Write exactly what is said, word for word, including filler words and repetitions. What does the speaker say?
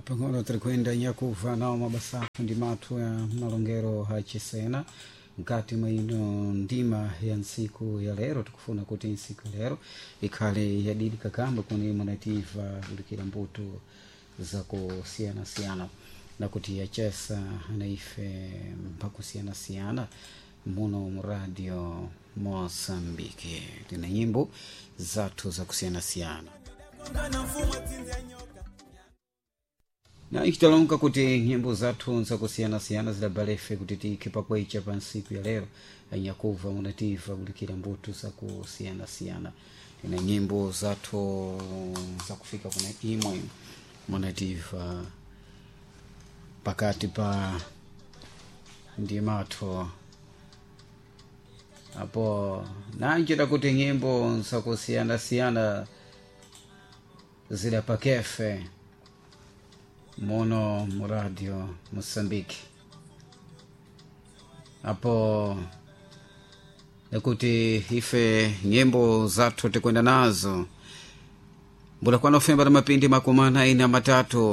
Pang'ono tirikwenda nyakuva nawo mabasafu ndi mathu ya malongero achisena mkati mwa ino ndima ya ntsiku ya lero. Tikufuna kuti ntsiku ya lero ikhale yadidi kakamba kuni munativa kulikira mbuto zakusiyanasiyana na kuti yachesa na ife mpakusiyanasiyana muno mu Radio Mosambike. Tina nyimbo zathu zakusiyanasiyana na ichitalonga kuti nyimbo zathu zakusiyanasiyana zidabalefe kuti tikhe pakwecha pa ntsiku ya lero. Anyakuva munativa kulikira mbuto zakusiyanasiyana. Tina nyimbo zathu zakufika kuna imwe munativa pakati pa ndimatho apo nanjira kuti nyimbo zakusiyanasiyana zidapakefe muno mu Radio Mosambike apo nekuti ife nyimbo zathu tikwenda nazo mbula kwanofemba na mapindi makumi anayi na matatu.